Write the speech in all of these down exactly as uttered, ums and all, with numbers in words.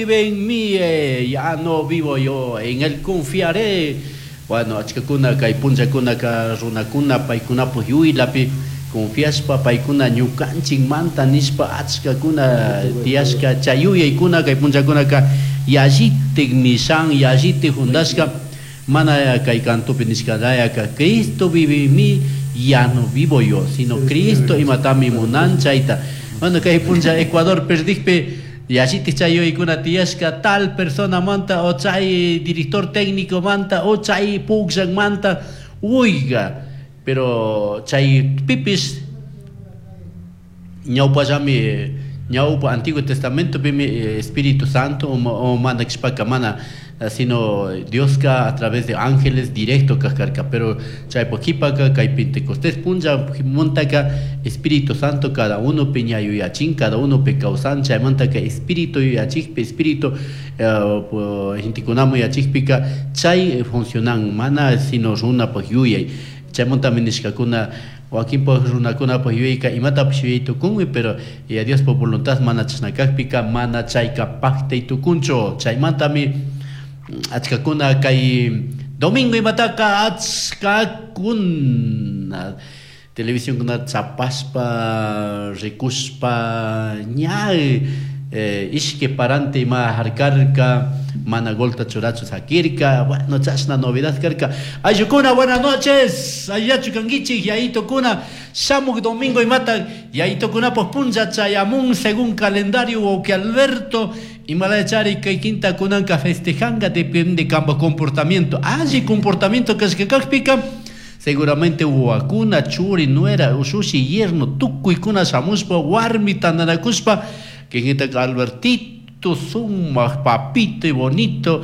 Vive en mí, eh, ya no vivo yo, en él confiaré. Bueno, achkakuna kay punllakunaka runakuna paykunapak yuylapi confiashpa paykuna ñukanchikmanta nishpa achkakuna tiyashka chay yuyaykuna kay punllakunaka yallitik mishan yallitik juntashka mana kay cantopi nishkalayaka Cristo vive en mí, ya no vivo yo, sino Cristo imatami munan chayta. Bueno, kay punlla Ecuador perdikpi yallitik chay yuyaykuna tiyashka tal persona manta o chay director técnico manta o chay manta, oiga, pero chay pipis ñawpallami ñawpa Antiguo Testamento pimi Espíritu Santo o mana kashpaka mana, sino Dioska a través de ángeles directo kajkarka, pero chaypak kipaka kay Pentecostés punlla muntaka Espíritu Santo cada uno pi ña yuyachin, cada uno pi kawsan, chaymantaka Espíritu yuyachikpi, Espíritu gentekunaman yuyachikpika chay funcionan mana sino runapak yuyay. Chaymantami nishkakuna wakinpak runakunapak yuyayka imatapish yuyay tukunmi, pero ya Diospa voluntad mana chashna kakpika mana chayka paktay tukunchu. Chaymantami achkakuna kay domingo imataka achkakuna televisionkuna chapashpa rikushpa ña eh, ishki parante ima harkarka mana golta churachu sakirka. Bueno, chashna novedad karka. Ayllukuna, buenas noches, allillachu kankichik yayitukuna. Shamuk domingo imata yayitukunapuk punlla chayamun según calendario wawki Alberto imalayachari kay quinta kunanka festejanga, depende kamba comportamiento, alli comportamiento kashka kakpika seguramente wawakuna, churi, nuera, ushushi, yerno tukuykuna shamushpa warmi tantanakushpa kinkitaka Albertito sumak papito y bonito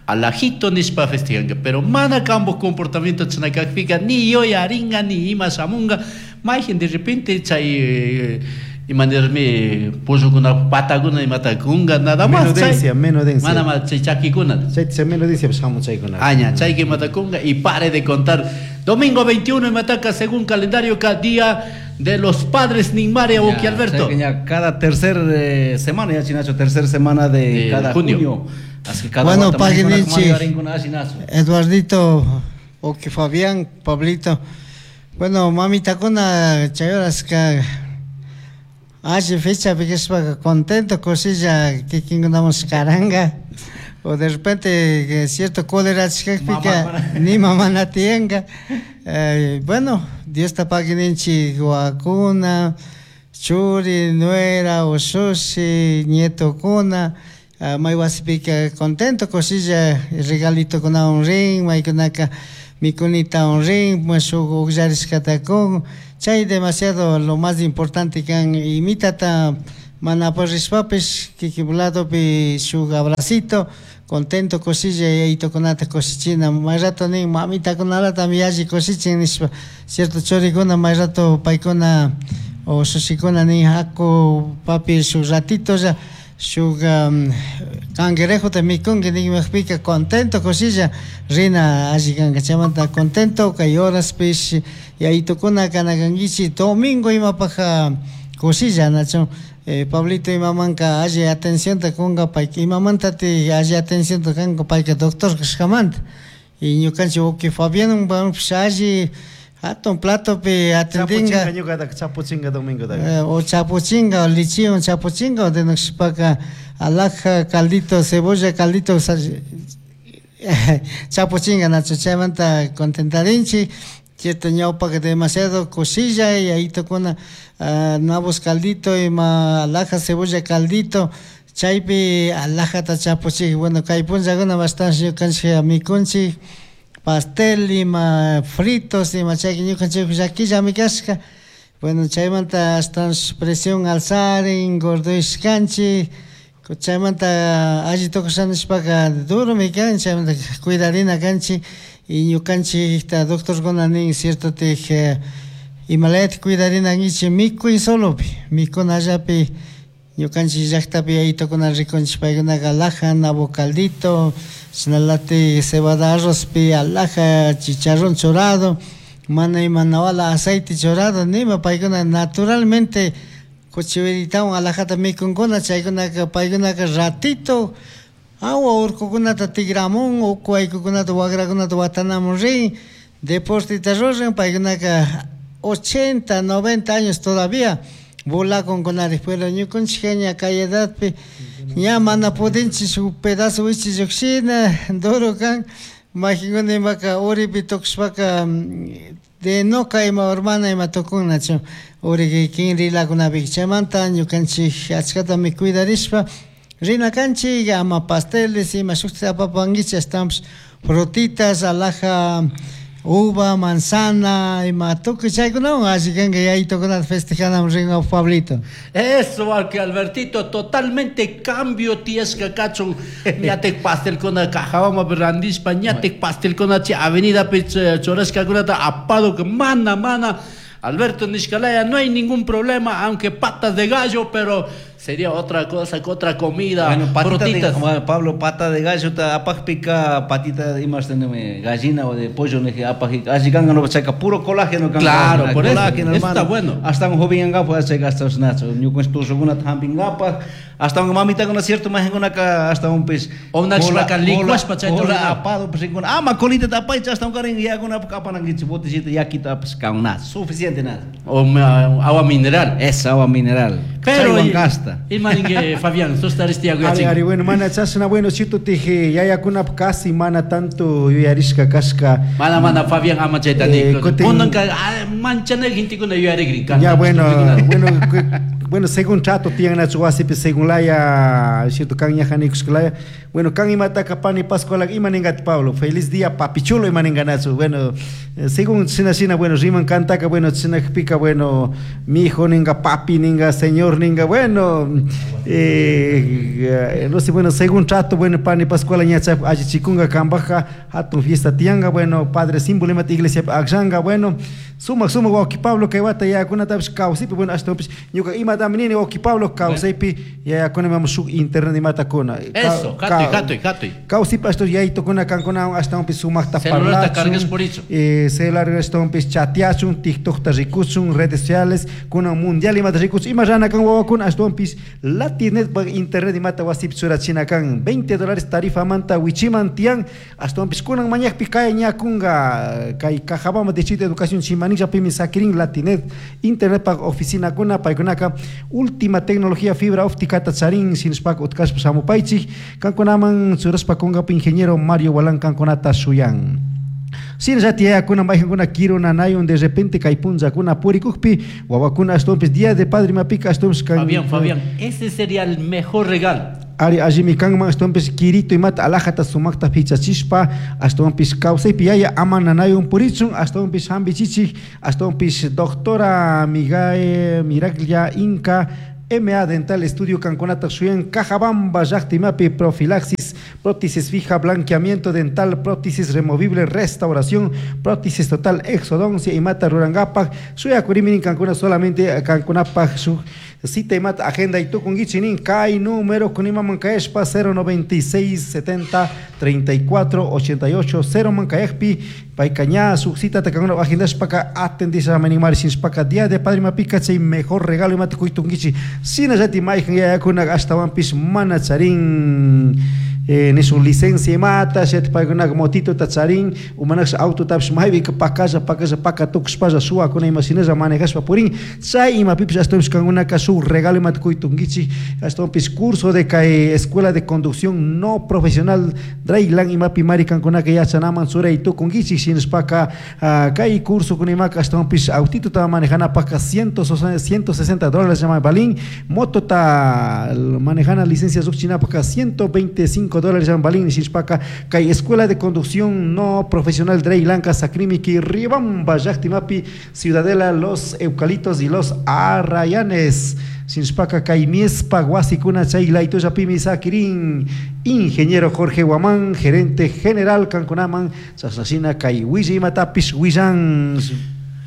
alajito nishpa festejanka, pero mana kambo comportamiento chashna kakpika ni yuyaringa ni ima shamunga mayjin de repente chay imanirmi pullukuna patakuna imata kunga nada más Menudencia, menudencia. Mana más chay chakikuna. Chay menudencia pues shamun chaykuna. Aña, chay que imata kunga y pare de contar. Domingo veintiuno imataka según calendario cada día de los padres Ninmaria Oki Alberto. Ya, cada tercer eh, semana, ya chinacho, tercer semana de, de cada junio. junio. Así que cada bueno, paguen Eduardito, Oki Fabián, Pablito. Bueno, mamita kuna chayorasca hace fecha porque contento cosilla que quingamos caranga o de repente cierto cólera ni mamá na tienga. Eh, bueno, Dios ta paguininchi guacuna, churi, nuera, ushushi, nieto kuna, uh, may wasipika contento cosilla regalito kuna un ring, may kunaka mikunita un ring, mushuk uqllarishkata kun. Chay demasiado lo más importante kan imitata mana porrishpapish kikipuladopi shuk abracito contento cosilla yayitokunata kushichina may rato nin mamitakunalata yalli kushichin nishpa cierto churikuna may rato paykuna o shushikuna nin haku papi shuk ratitolla shuk um, cangrejota mikunki ninmaqpika contento cosilla rina alli kanka chaymanta contento kay horaspish yayitukuna kanakankichik domingo imapaq cosilla nacho. Eh, Pablito imamanka alli atencionta kunka payka imamantati alli atencionta kanka payka doctor kashkamanta y ñukanchik wawki Fabián alli hatun platopi atendinga ñuqataka chapuchinga domingo eh, o chapuchinga o lichiwan chapuchinga o denukshpaka alhaja caldito cebolla caldito chapuchinga nacho chaymanta contentarinchik. Cierto ñawpaka demasiado cosilla y ahí tocona uh, nabos caldito y ma alhaja cebolla caldito chaypi alhajata chapuchik. Bueno, kay punllakuna bastante ñukanchik mikunchik pastel ima fritos ima chayka ñukanchik llakillami kashka. Bueno, chaymanta hasta presión alzarin gordoyshkanchik chaymanta alli tukusha nishpaka duromi kan chaymanta cuidarina kanchik. Y ñukanchikta doctorkuna nin cierto tik imalayata cuidarina kankichik mikuy solopi mikunallapi ñukanchik llaktapi yayitukuna rikunchik paykunaka alhaja nabo caldito chashnalatik cebada arrozpi alhaja chicharrón churado mana ima nawala aceite churado nima paykuna naturalmente Kuchiwiritawan alajata mikunkuna chaykunaka paykunaka ratito awa urkukunata tigramun uku waykukunata wakrakunata watanamun rin deportita ruran paykunaka ochenta, noventa años todavía volakunkunari pero ñukanchik ña kay edadpi ña mana pudinchik shuk pedazo wichi lluqshina duro kan majinkuna imaka uripi tukushpaka de noka ima hermana ima tukunnachu uri kinrilakunapi chaymanta ñukanchik achkatami cuidarishpa rina kanchik ama pasteles ima shukta apapankichik ashtawanpish frutitas alhaja uva, manzana, ima tukuy chaykunawan alli kanka yayitukunata festejanaman rinka Pablito. Eso, que Albertito, totalmente cambio tiyashka kachun ñatik pastelkuna Cajabamba randishpa ñatik pastelkuna chay avenida churashkakunata apado que mana mana Alberto nishkalaya no hay ningún problema, aunque patas de gallo, pero sería otra cosa, otra comida, Bueno, patita de, frutitas. bueno, Pablo, pata de gallo, ta apajpica, patita de más teneme gallina o de pollo, ne apajpica, así ganga no chaca puro colágeno ganga. Claro, por eso, colágeno, eso hermano. está bueno. Hasta un joven ganga puede hacer gastos nacho, ni con esto según tamping gapa, hasta un mamita con cierto más en una ca hasta un pez. O una chpaca licuashpa chayta cola rurana. apado pues con ama colita tapay hasta un karin ya con apanangichi botecito ya quita pues nada, suficiente nada. O ma- agua mineral. Es agua mineral. Pero Chaywan y- gasta. y maningue Fabián, tú estás este Ari, ari, bueno, mana chasna, bueno, cierto te yayakuna casi mana tanto yuyarishka kashka. Mana mana Fabián ama chayta Eh, ni. kutin- Kunanka manchana gentekuna yuyarikrin. Ya bueno, bueno, bueno, según trato tiyan nachu wasipi según laya, cierto kan ñajanikushkalaya. Bueno, kan imataka pani Pascuala ima ningati Pablo, feliz día papichulo ima ninganachu. Bueno, eh, según sina sina, bueno, riman kantaka, bueno, sina pica, bueno, mi hijo ninga, papi ninga, señor ninga, bueno, eh, no sé, bueno, según trato, bueno, pani Pascuala ñacha achichikunga kambaja, hatun fiesta tianga, bueno, padre símbolo imata iglesia akshanga, bueno, sumak sumak wawki Pablo kay wata yayakunatapish kawsaypi, bueno, ashtawanpish ñuka imatami nini wawki Pablo kawsaypi yayakunami shuk internet imatakuna. Eso, hatuy, hatuy, hatuy. Kawsaypi ashtawan yaytukuna kankunawan ashtawanpish sumakta Celularta parlachun, cargas por hecho. eh, celular ashtawanpish chateachun, TikTokta rikuchun, redes sociales, kunan mundial imata rikuchun, ima rana kan wawakuna ashtawanpish Latinet internet imata wasipi churachina kan veinte dólares tarifa manta wichiman tiyan, ashtawanpish kunan mañakpi kay ñakunga kay Cajabamba Distrito de Educación Chimanilla pimi sakirin Latinet internet pa oficina kuna paykunaka última tecnología fibra óptica ta charin sinishpaka utkashpa shamupaychik kankunaman churashpa kunkapi ingeniero Mario Walán kankunata shuyan. Shinallati yayakuna mayjankuna kiru nanayun de repente kay punllakuna purikukpi wawakuna ashtawanpish día de padre imapika ashtawanpish kan Fabián, Fabián, ese sería el mejor regalo. Ari allimi kanman ashtawanpish kirito imata alajata sumakta pichachishpa ashtawanpish kawsaypi yaya ama nanayun purichun ashtawanpish hampichichik ashtawanpish doctora Migae Miraglia Inca M A Dental Estudio kankunata shuyan Cajabamba llaqta imapi profilaxis, prótesis fija, blanqueamiento dental, prótesis removible, restauración, prótesis total, exodoncia imata rurangapak shuyakuriminin kankuna solamente kankunapak shuk cita imata agenda y tukunkichinin kay número kunimaman kayashpa cero noventa y seis setenta treinta y cuatro ochenta y ocho cero man kayakpi payka ña shuk cita ta kankuna agendashpaka atendisha manimari shinshpaka día de padre mapika chay mejor regalo imata kuytunkichi shinallati mayjan yayakuna ashtawanpish mana charin eh, nisu licencia imata shet paykunaka motito ta charin umanaksh auto tapish maypika pakalla pakalla paka tukushpalla suwakuna ima shinalla manejashpa purin chay imapipish ashtawanpish kankunaka shuk regalo imata kuytunkichik ashtawanpish curso de kay escuela de conducción no profesional Draylan imapi mari kankunaka yachanaman churay tukunkichik shinashpaka, ah, kay curso kunimaka ashtawanpish autito ta manejanapaka ciento sesenta dólares llama balín moto ta manejana licencia sukchinapaka ciento veinticinco dólares llama balín shinashpaka kay escuela de conducción no profesional Draylanka Sakrimiki Riobamba llaqtimapi Ciudadela Los Eucalitos y Los Arrayanes Sinshpaka kay miespa wasikuna chay laytullapimi sakirin ingeniero Jorge Guamán, gerente general kankunaman chashnashina kay willa imatapish willan.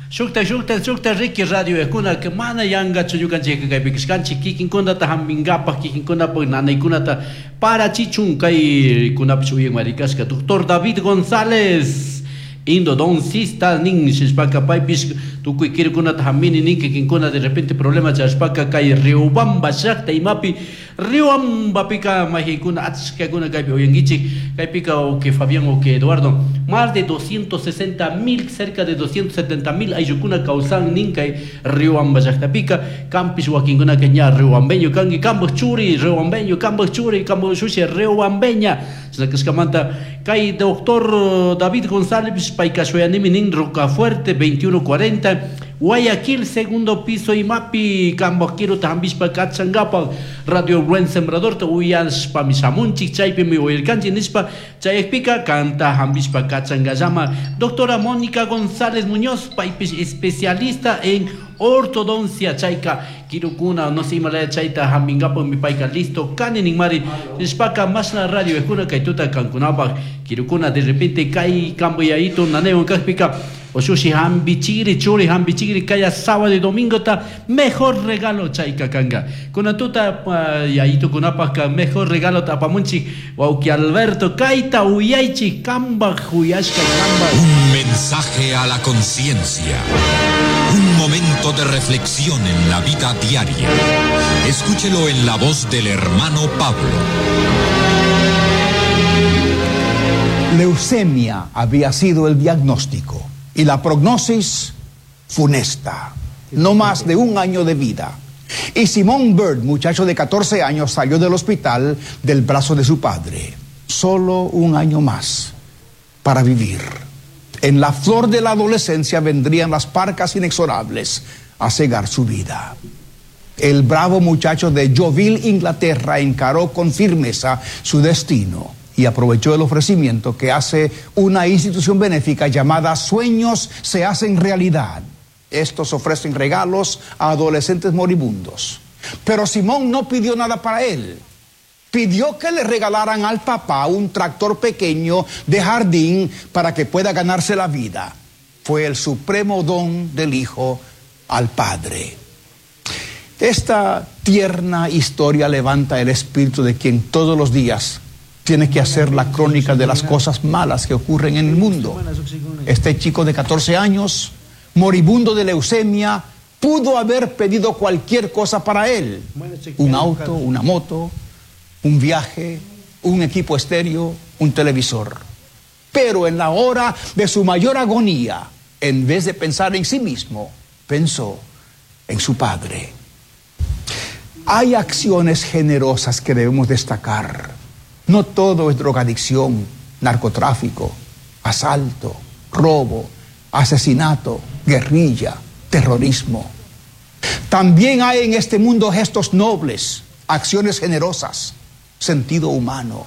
Shukta, shukta, shukta, Ricky Radio ekuna que mana yanga chuyukanchik kay pikishkanchik kikinkunata hampinkapak kikinkunapak nanaykunata para chichun kay kunapish uyan marikashka doctor David González Endodoncista nin shishpaka paypish tukuy kirukunata hampini nin kikinkuna de repente problema charishpaka kay Riobamba llakta imapi Riobambapika mayqinkuna achkakuna kaypi uyankichik kaypika o que Fabián o que Eduardo más de doscientos sesenta mil, cerca de doscientos setenta mil ayllukuna kawsan nin kay Riobamba llaqtapika kampish wakinkunaka ña riobambeño kanki kampak churi riobambeño kampak churi kampak shushi riobambeña chashna kashkamanta kay doctor David González payka shuyanimi nin Rocafuerte veintiuno cuarenta Guayaquil segundo piso imapi kampak kiruta hampishpa kachankapak Radio Buen Sembrador ta uyashpami shamunchik chaypimi uyarkanchik nishpa chayakpika kanta hampishpa kachankallama doctora Mónica González Muñoz paypish especialista en ortodoncia chayka kirukuna no sé imalaya chayta hampinkapakmi payka listo kani ninmari nishpaka mashna radio ejuna kay tuta kankunapak kirukuna de repente kay kamboyayito nanaywan kakpika oshushi hampichikri churi hampichikri kaya sábado y domingo ta mejor regalo chayka kanga kuna tuta uh, yayitukunapaka mejor regalo ta apamunchik wawki Alberto kayta uyaychik kambaj uyashka kambaj. Un mensaje a la conciencia. Un momento de reflexión en la vida diaria. Escúchelo en la voz del hermano Pablo. Leucemia había sido el diagnóstico y la prognosis funesta. No más de un año de vida. Y Simón Bird, muchacho de catorce años, salió del hospital del brazo de su padre. Solo un año más para vivir. En la flor de la adolescencia vendrían las parcas inexorables a cegar su vida. El bravo muchacho de Yeovil, Inglaterra, encaró con firmeza su destino y aprovechó el ofrecimiento que hace una institución benéfica llamada Sueños se hacen realidad. Estos ofrecen regalos a adolescentes moribundos. Pero Simón no pidió nada para él. Pidió que le regalaran al papá un tractor pequeño de jardín para que pueda ganarse la vida. Fue el supremo don del hijo al padre. Esta tierna historia levanta el espíritu de quien todos los días tiene que hacer la crónica de las cosas malas que ocurren en el mundo. Este chico de catorce años, moribundo de leucemia, pudo haber pedido cualquier cosa para él. Un auto, una moto, un viaje, un equipo estéreo, un televisor. Pero en la hora de su mayor agonía, en vez de pensar en sí mismo, pensó en su padre. Hay acciones generosas que debemos destacar. No todo es drogadicción, narcotráfico, asalto, robo, asesinato, guerrilla, terrorismo. También hay en este mundo gestos nobles, acciones generosas, sentido humano.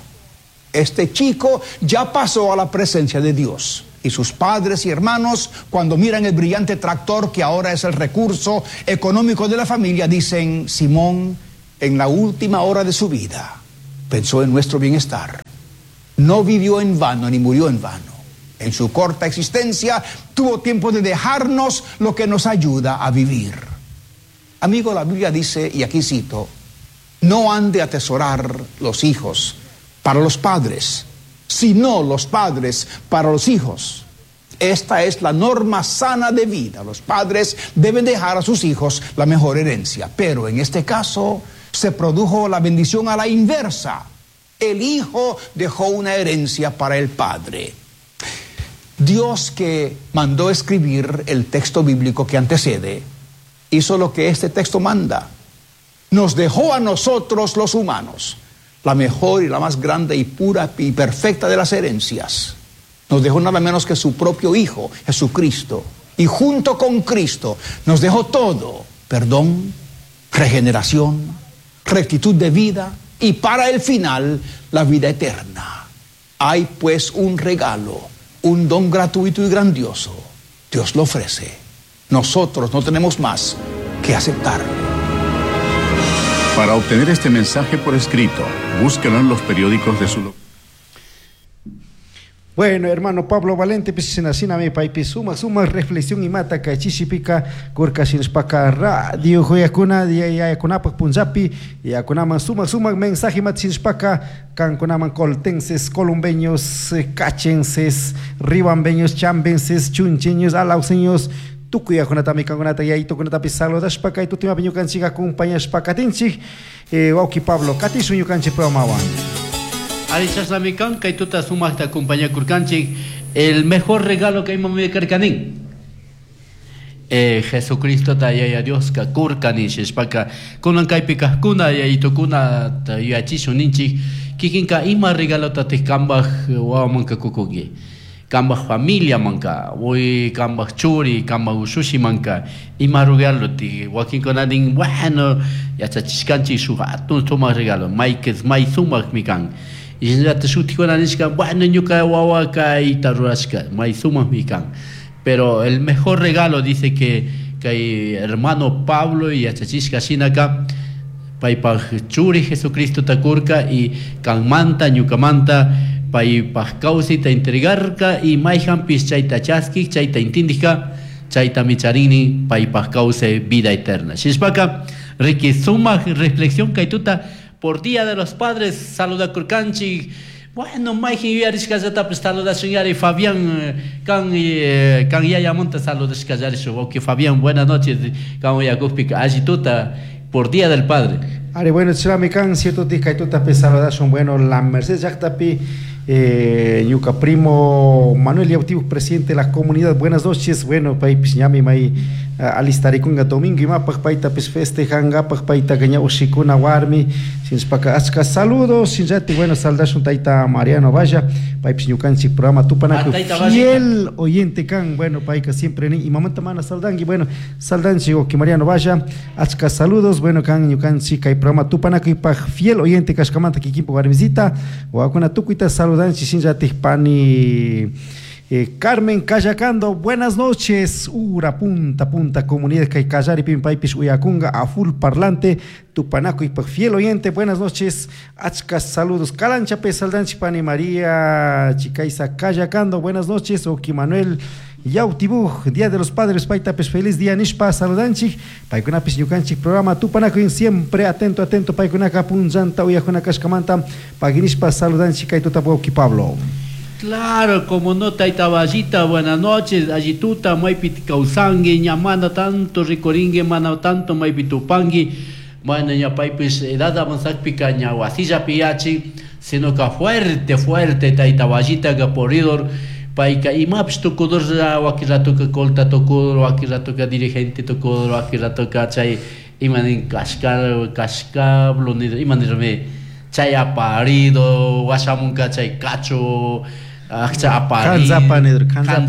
Este chico ya pasó a la presencia de Dios y sus padres y hermanos, cuando miran el brillante tractor que ahora es el recurso económico de la familia, dicen: Simón, en la última hora de su vida, pensó en nuestro bienestar. No vivió en vano ni murió en vano. En su corta existencia tuvo tiempo de dejarnos lo que nos ayuda a vivir. Amigo, la Biblia dice, y aquí cito: no han de atesorar los hijos para los padres, sino los padres para los hijos. Esta es la norma sana de vida. Los padres deben dejar a sus hijos la mejor herencia. Pero en este caso se produjo la bendición a la inversa. El hijo dejó una herencia para el padre. Dios, que mandó escribir el texto bíblico que antecede, hizo lo que este texto manda. Nos dejó a nosotros los humanos la mejor y la más grande y pura y perfecta de las herencias. Nos dejó nada menos que su propio Hijo, Jesucristo. Y junto con Cristo nos dejó todo: perdón, regeneración, rectitud de vida y para el final la vida eterna. Hay pues un regalo, un don gratuito y grandioso. Dios lo ofrece. Nosotros no tenemos más que aceptarlo. Para obtener este mensaje por escrito, búsquelo en los periódicos de su localidad. Bueno, hermano Pablo Valente, pues sina paypi suma suma reflexión imata kay chishipika kurka shinashpaka radio huyakuna yayakunapak punllapi yakunaman suma suma mensaje imata shinashpaka kankunaman coltenses, columbeños, cachenses, ribambeños, chambenses, chuncheños, alauseños, tukuy yakunatami kankunata yayitukunatapi saludashpa kay tutimapi ñukanchik acompañashpa katinchik. Eh, wawki Pablo, katishun ñukanchik programawan. Ari chashnami kan kay tuta sumaqta acompañakurkanchik el mejor regalo que imami karkanin. Eh, Jesucristo ta yaya Dioska kurkani shishpaka kunan kaypi kajkuna yayitukuna yuyachishun ninchik kikinka ima regalotatik kambaj wawamanka kukunki kambaj familia manka uy kambaj churi kambaj ushushi manka ima regalo ti wakinkuna nin bueno yachachishkanchik shuk hatun sumaq regalo maykes may sumakmi kan y shinallata shutikuna nishka bueno ñuka wawa kayta rurashka may sumakmi kan. Pero el mejor regalo dice que que hermano Pablo y yachachishka shinaka paypaj churi Jesucristo takurka y kanmanta ñukamanta paypaj kawsayta entregarka y mayjanpis chayta chaskik chayta intindijka chaytami charini paypaj kawsay vida eterna. Shishpaka riki sumaq reflexión kay tuta por Día de los Padres saludakurkanchik. Bueno, mayjin yuyarishkallatapis saludashun yari Fabián kan eh, kan yayamunta saludashkallarishun. Ok, Fabián, buenas noches. Kan uyakukpika alli tuta por Día del Padre. Ari, bueno, chirami kan cierto kay tutapi saludashun. Bueno, la Mercedes llaqtapi eh, ñuka primo Manuel Yautibu, presidente de la comunidad. Buenas noches. Bueno, paypis ñami may alistarikunga domingo imapaq paytapis festejankapaq paytaqa ña ushikuna warmi shinashpaka achka saludos shinllati. Bueno, saldashun tayta Mariano Valla paypis ñukanchik programa tupanakuy fiel oyente kan. Bueno, payka siempre nin imamanta mana saldanki. Bueno, saldanchik wawqi Mariano Valla achka saludos. Bueno, kan ñukanchik kay programa tupanakuypaq fiel oyente kashkamanta kikinpak warmisita wawakuna tukuyta saludanchik shinllatik pani Eh, Carmen Cayacando, buenas noches. Ura punta punta comunidad kay Callari pim paypis uyakunga a full parlante tupanakuy paq fiel oyente. Buenas noches. Achka saludos. Calancha Pesaldanchi pani María Chicaiza Cayacando, buenas noches. Oki Manuel Yautibuj, Día de los Padres, paytapis feliz día nishpa saludanchik. Paykunapis ñukanchik programa tupanakuy siempre atento atento paykunaka punllanta uyakuna kashkamanta paginishpa saludanchik kay tuta wawqi Pablo. Claro, como no, taita Vallita, buenas noches, allituta, maypi kawsangi, ña mana tanto rikuringi, mana tanto maypi tupangui, bueno, ña paypis edad avanzakpika ña wasillapi yachin, sino que fuerte, fuerte, taita Vallita, que poridor, payka imapis tukudurlla, wakin ratoka colta tukudur, wakin ratoka dirigente tukudur, wakin ratoka chay imanin kashka, kashkablo, imanirme, chay aparido, washamunka chay cacho, aparido,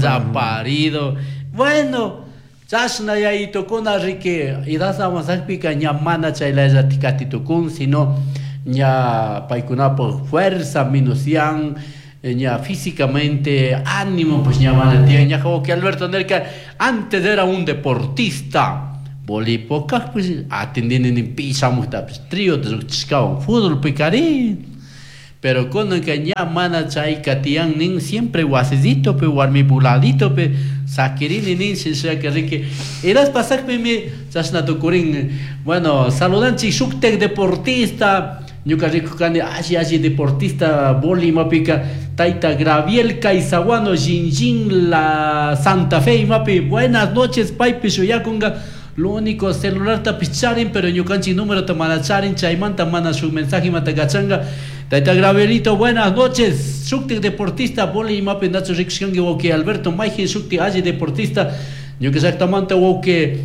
aparido. Bueno, chashna yayitukuna riki edad avanzakpika ña mana chaylaylla tikatitukun, sino ña paykunapaq fuerza minusian, ña físicamente ánimo pues ña mana tiyan. Ña wawqi Alberto nerka antes era un deportista. Bolipokaq pues atendini pichamuqtapis trío lluqchishkawan fútbol pikarin. Pero kunanka ña mana chayka tiyan nin siempre wasisito pe warmipu ladito pe sakirini nin shinshaka riki edad pasakpimi chashna tukurin. Bueno, saludanchik shuktak deportista ñuka rikukani alli alli deportista boli imapika tayta Graviel Caizaguano Jinjin la Santa Fe imapi. Buenas noches paypi shuyakunga. Lo único celular tapis charin, pero ñukanchik número ta mana charin, chaymanta mana su mensaje mata kachanga. Tayta Gravelito, buenas noches. Shukti deportista, boli imapi nacho rikushkanki wawqi Alberto Mayjin, shukti alli deportista. Ñuka llaqtamanta wawqi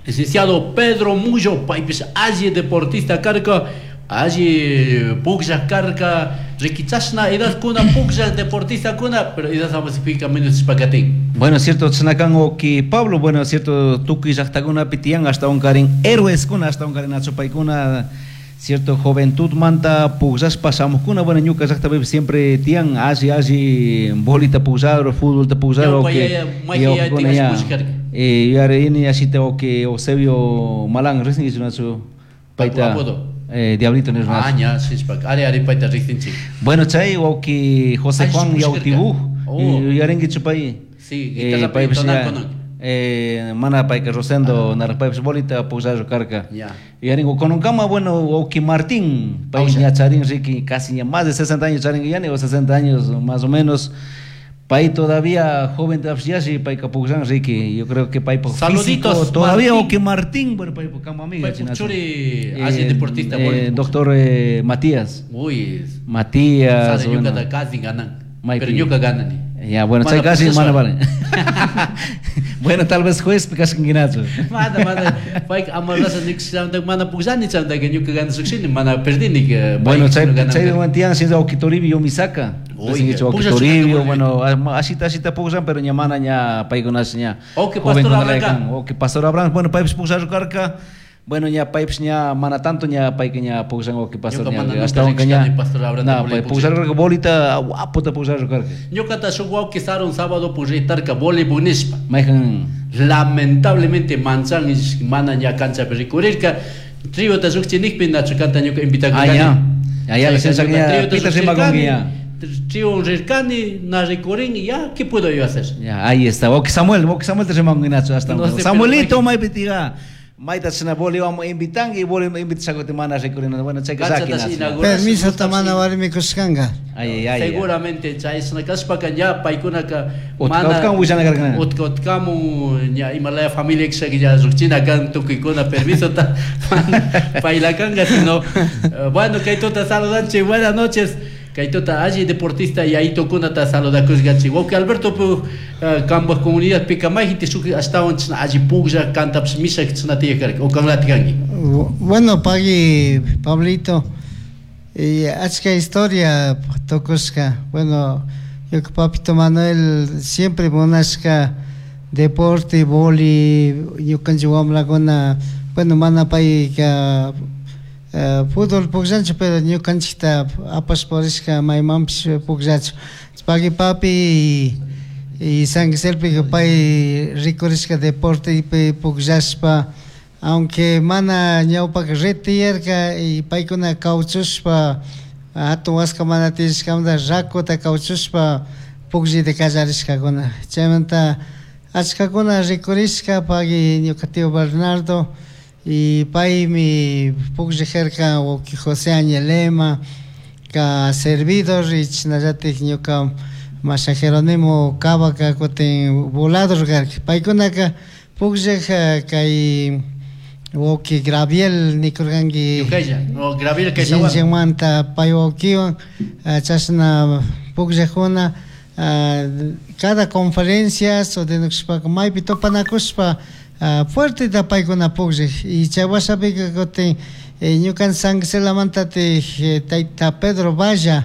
licenciado Pedro Mullo, paypis alli deportista karka, alli pukllaq karka, rikichashna edadkuna pukllaq deportistakuna, pero edad avanzapika menos pakatin. Bueno, cierto, chnakan wawqi Pablo, bueno, cierto, tukuy llaqtakunapi tiyan hasta un karin héroeskuna, hasta un karin achupaykuna, cierto, juventud manta pukllashpa shamuqkuna. Bueno, ñuka llaqtapi siempre tiyan alli alli bolita pukllador, fútbolta pukllador, que eh yarini ashita wawqi Eusebio Malan riqsinkichu nachu payta. Eh, Diablito nirnachu. Ah, ña, sishpa. Ari, ari, payta riqsinchik. Bueno, chay wawqi José Ay, Juan pushkarka. Yautibuj. Oh. Yuyarinkichu pay? Sí, Eh, guitarra paypish tonan ña, konan. eh, mana payka Rosendo narpaypish bolita pukllallu karka. Ya. Yuyaringu kunankama, bueno, wawqi Martín, pay Ausha. ña charin riki casi ña más de sesenta años charin yani o sesenta años más o menos. Pay todavía joven todavía payka pukllan riki. Yo creo que pay Saluditos, físico, todavía Martín. wawqi Martín, bueno, pay kama amiga Paypuk chinachu. churi, alli deportista, eh, boli. doctor eh, Matías. Uy, Matías, sale bueno. ñuka casi ganan. Maypi. Pero ñuka ganani. Ya, bueno, Mana chay casi pukllasha. mana vale. Bueno, tal vez juez kasqankinachu. Mana, mana, payka amarrasha nikushamanta mana pukllani chamantaka ñuka ganasuqshini, mana perdini. eh, Bueno, payka chay ganan chay karka. wantian sin wawqi Toribio Misaka. Uy, Uy, wawqi pukllachu Toribio, karka, bueno, asita asita pukllan, pero ña mana ña paykunash ña. Wawqi joven Pastor kunalaya Abraham. kan. Wawqi Pastor Abraham, bueno, paypis pukllachu karka. Bueno, ña paypis ña mana tanto ña payka ña pukllan wawqi Pastor Ñuka ña mana nunca hasta wanka ña. riqshkani Pastor Abraham Na, ta pay pukllachu. pukllachu karka bolita guapota pukllachu karka. Ñukata shuk wawqi sarun sábado pukllaitarka voleibol nishpa. Mayqan Lamentablemente manchan mana ña canchapi rikurirka. Triota lluqchinikpi nachu kanta ñuka Ah, invitakurkani. ya. Ya, ya, la Chayka sensa ñuka ña triota pita rimakunki ña. lluqchirkani, trion rirkani, na rikurin, ya, ¿qué puedo yo hacer? Ya, ahí está. Wawqi Samuel, wawqi Samuel te rimakunki hasta. No sé, pero Samuelito mayqan- maypi tiga. Mayta china boli vamos invitanki boli invitashakuti mana rikurina. Bueno, chayka Canchata saki nachu. inauguración. Permiso tamana warmi kushkanka. Ay, ay, ay. Seguramente chayshna kashpaka ña paykunaka Utka- utkamun willana karka. utka utkamun ña imalaya familia kishaka ña lluqchina kan tukuykuna permisota mana paylakanka sino eh, bueno kay tuta saludanchik buenas noches kay tuta alli deportista yayitukunata saludakushkanchik wawqi Alberto pu eh, kambaj comunidad pika mayjinti shuk ashtawan chashna alli puklla kantapish mishak chashna tiyaj karka o kanlati kanki. Bueno, pagui Pablito, y achka historia tukushka. Bueno, ñuka papito Manuel siempre munashka deporte, boli, ñukanchik wamrakuna, bueno, mana payka eh, fútbol pukllanchu, pero ñukanchikta apashpa purishka maymanpish pukllachu. Pagui papi y, y San Giselpi pay rikurishka deportepi pukllashpa, aunque mana ñawpaka red tiyarka y paykuna kawchushpa hatun waska mana tiyashkamanta rakuta kawchushpa pukllayta kallarishkakuna. Chaymanta achkakuna rikurishka pagui ñuka tío Bernardo y paymi pukllajarka wawqi José Añelema ka servidor y chashnallatik ñuka masha Jerónimo Cavaca kutin volador karka. Paykunaka pukllaj kay wawqi Graviel nikurkanki Ñukalla, no, Graviel kaysawan. Xinjiangmanta pay wawqiwan chashna pukllajkuna cada conferencias o denushpaka maypi tupanakushpa fuerteta paykuna pukllaj y chay washapika kutin ñukan San Giselamanta tayta Pedro Valla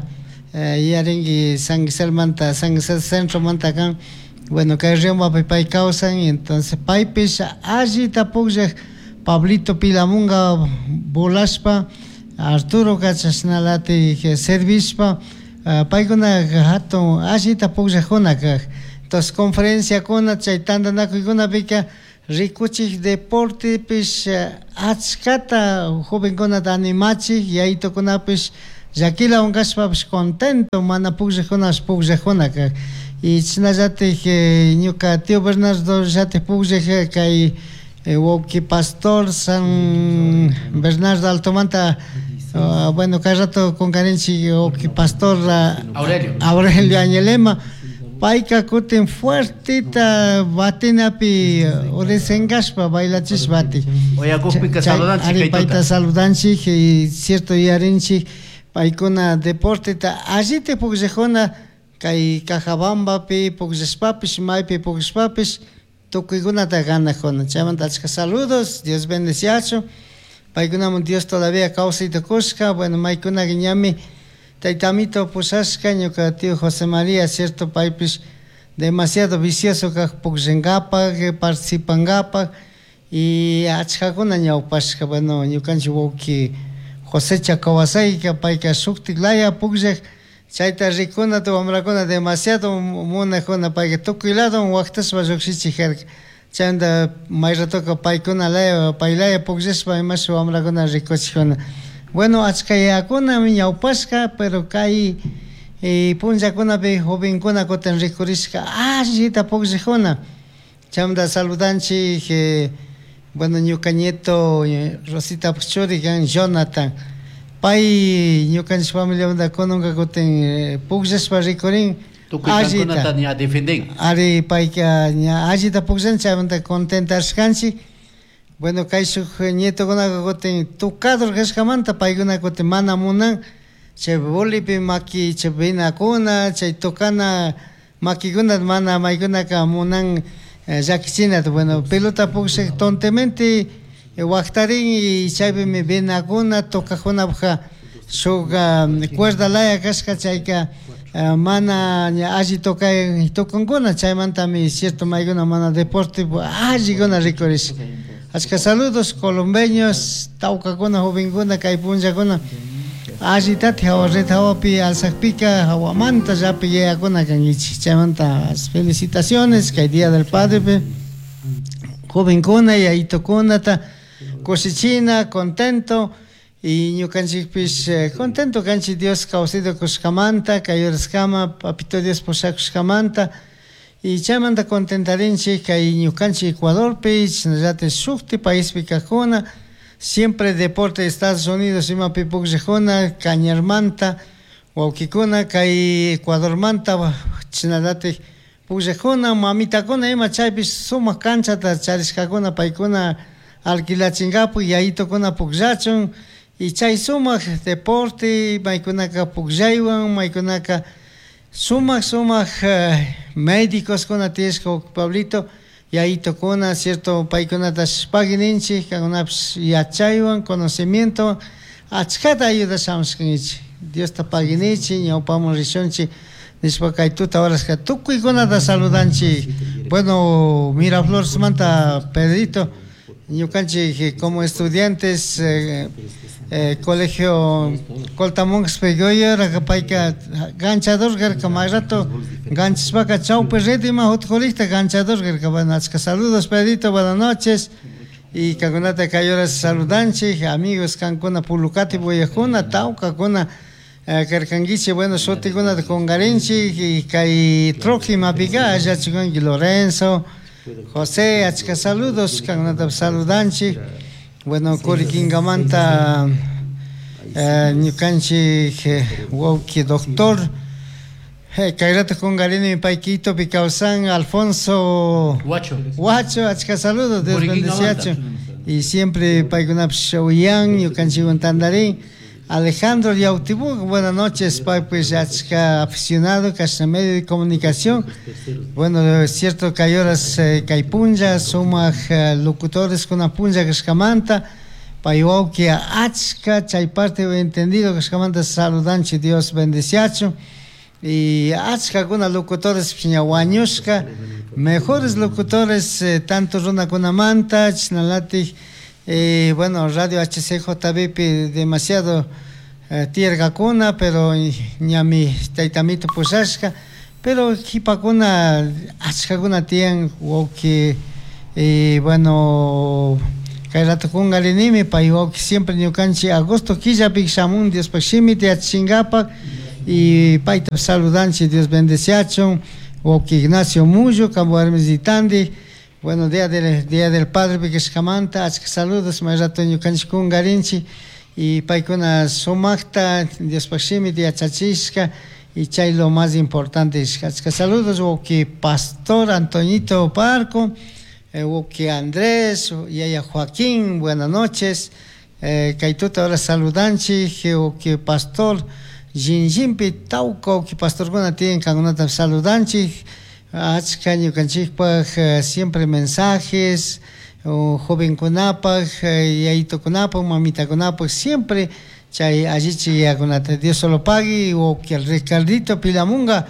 yarinki San Giselmanta San Gisel Centromanta kan bueno kay Riombapi pay kawsan y entonces paypish allita pukllaj Pablito Pilamunga volashpa Arturo chashnalatik servishpa paykuna hatun allita pukllajkuna kaj. Entonces conferenciakuna chay tantanakuykunapika rikuchik deportepish achkata jovenkunata animachik yayitukunapish llakilawan kashpapish contento mana pukllajkunapish pukllajkuna kaj. Y chashnallatik ñuka tío Bernardo llatik pukllaj kay wawqi Pastor San Bernardo Altomanta uh, bueno kay rato kunkarinchik wawqi Pastor uh, Aurelio. Aurelio Añelema payka kutin fuertita batinapi uresenkashpa bailachishpa batik. Oyakukpika Chay- saludanchik ari kay tuta. payta saludanchik y cierto yuyarinchik paykuna deporteta allita pukllajkuna kay Cajabambapi pukllashpapish maypi pukllashpapish tukuykunata ganajkuna. Chaymanta achka saludos, Dios bendeciachu. Paykunaman Dios todavía kawsayta kushka, bueno maykunaka ñami taytamito pushashka ñuka tío José María, cierto paypish demasiado vicioso kaj pukllankapak, participankapak y achkakuna ñawpashka, bueno ñukanchik wawqi José Chacawasayka payka shuktik laya pukllaj chayta rikunata wamrakuna demasiado munajkuna payka tukuy lado waqtashpa llukshichik karka. Chaymanta may ratoka paykuna laya paylaya pukllashpa imash wamrakuna rikuchikuna. Bueno, achkayakuna ñawpashka, pero kay eh, punllakunapi jovenkuna kutin rikurishka allita pukllakuna. Chaymanta saludanchik eh, bueno, ñuka nieto eh, Rosita churi kan Jonathan. Pay ñukanchik familiamanta kunanka kutin eh, pukllashpa rikurin Tukuy kankunata ña defenden. Ari payka ña allita pukllan chaymanta contentashkanchik. Bueno, kay shuk nietokunaka kutin tocador kashkamanta paykuna kutin mana munan chay bolipi maki chay venakuna chay tocana makikuna mana maykunaka munan eh, llakichinata. Bueno, pelota pukllak tontemente eh, waktarin y chaypimi venakuna tocajunapaj shuk um, cuerda laya kashka chayka uh, mana ña alli tocay tocankuna chaymantami cierto maykuna mana deporte allikuna rikurish. Achka saludos colombeños, tawkakuna, jovenkuna, kay punllakuna. Allitati hawa red hawapi alzakpika hawamanta llapi yayakuna kankichik. Chaymanta felicitaciones kay Día del Padre jovenkuna yayitukunata kushichina contento y ñukanchikpish eh, contento kanchik Dios kawsayta kushkamanta kay horaskama papito Dios pushakushkamanta y chaymanta contentarinchik kay ñukanchik Ecuadorpi chashnallatik shukti paispi kajkuna siempre deporte de Estados Unidos imapi pukllakuna Cañarmanta wawkikuna kay Ecuadormanta chashnallatik pukllakuna mamitakuna ima chaypish sumak canchata charishkakuna paykuna alquilachinkapak yayitukuna pukllachun y chay sumak deporte maykunaka pukllaywan maykunaka sumak sumak eh, médicoskuna tiyashka Pablito yayitukuna cierto paykunata pagui ninchik kankunapish yachaywan conocimiento achkata ayudashamushkankichik Diosta pagui nichik ñawpaman rishunchik nishpa kay tuta horaska tukuykunata saludanchik. Bueno, Mirafloresmanta Pedrito ñukanchik como estudiantes eh, eh, colegio Coltamongaspi goyora payka ganchador karka may rato ganchishpaka chawpi red ima utkurikta ganchador karka. Bueno, achka saludos Pedrito, buenas noches y kankunata kay horas saludanchik amigos kankuna Pulucati buyakuna tawkakuna eh, karkankichik. Bueno, shutikunata kunkarinchik y kay troki imapika allachikunki Lorenzo José, achka saludos kankunata saludanchik. Bueno, Curiquingamanta eh, ñukanchik eh, wawki doctor eh, kayrata kunkarini pay Quitopi kawsan Alfonso Huacho. Huacho, achka saludos, Dios Curiquingamanta. bendeciacho. Y siempre paykunapish uyan ñukanchikwan tantarin. Alejandro Yautibuk, buenas noches, pay pues achka aficionado kashna medio de comunicación. Bueno, es cierto kay horas eh, kay punlla sumak eh, locutores kuna punlla kashkamanta pay wawki achka chay parte entendido kashkamanta saludanchik Dios bendeciacho. Y achka kuna locutores ña wañushka mejores locutores eh, tanto runakunamanta chashnalatik eh, bueno, Radio H C J B pi demasiado eh, tiyarkakuna, pero ñami taytamito pushashka, pero qhipakuna achkakuna tiyan wawki eh, bueno, kay rato kunkarinimi pay wawki siempre ñukanchik agosto killapi shamun Diospaj shimita yachachinkapak y payta saludanchik Dios bendeciachun wawki Ignacio Mullo kampu warmisitandi. Bueno, día del, día del Padre pikashkamanta achka saludos may rato ñukanchik kunkarinchik y paykuna sumakta Diospaj shimita yachachishka y chay lo más importante achka saludos wawki Pastor Antoñito Parco, eh, wawki Andrés, yaya Joaquín, buenas noches. Eh, kay tuta ahora saludanchik wawki Pastor Jinjinpi tawka wawki pastorkuna tiyan kankunata saludanchik. Achka ñukanchikpaj eh, siempre mensajes o jovenkunapaj eh, yayitukunapaj mamitakunapaj siempre chay allichi yakunata Dios solo pagui wawki Ricardito Pilamunga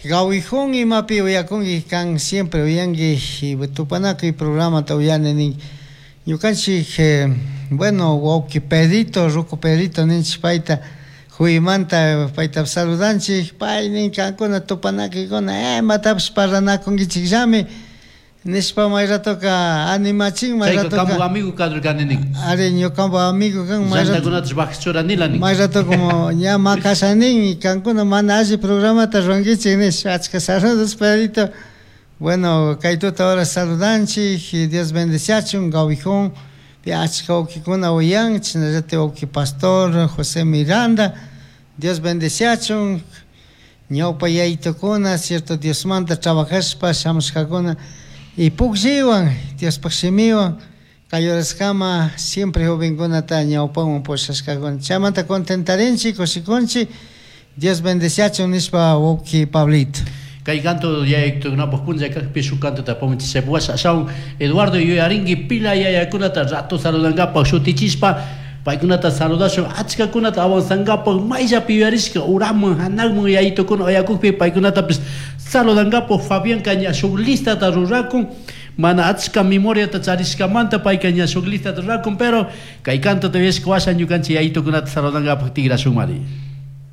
gawijun imapi uyakunki kan siempre uyanki y tupanakuy programata uyani nin ñukanchik eh, bueno wawki Pedrito ruku Pedrito ninchik payta huymanta payta saludanchik pay nin kankuna tupanakuykuna eh imatapish parlanakunkichikllami Nishpa may ratoka animachin may Chayka kambu ratoka amigo kadurkani nin. Ari ñukampa amigo kan may rato Llantakunatash bajachurani nin. May rato como ña makashanin y kankuna mana alli programata ruwankichik nishpa achka saludos Pedrito. Bueno, kay tuta ahora saludanchik y Dios bendeciachun Gawijón pi achka wawkikuna uyan chashnallata wawki pastor José Miranda Dios bendeciachun ñawpa yaytukuna cierto Diosmanta trabajashpa shamushkakuna y puklliwan Diospaj shimiwan kay horaskama siempre jovenkunata ñawpawan pushashkakuna chaymanta contentarinchik kushikunchik Dios bendeciachun nishpa wawki Pablito. Kay canto yayaytukunapaj punlla kajpi shuk cantota apamunchik washa ashawan Eduardo yuyarinki pila yayakunata rato saludankapaj shutichishpa paykunata saludashun achkakunata avanzankapaj mayllapi yuyarishka uraman hanakman yayitukuna uyakukpi paykunatapis saludankapaj Fabianka ña shuk listata rurakun mana achka memoriata charishkamanta payka ña shuk listata rurakun pero kay cantota uyashka washa ñukanchik yayitukunata saludankapaj tigrashun mari.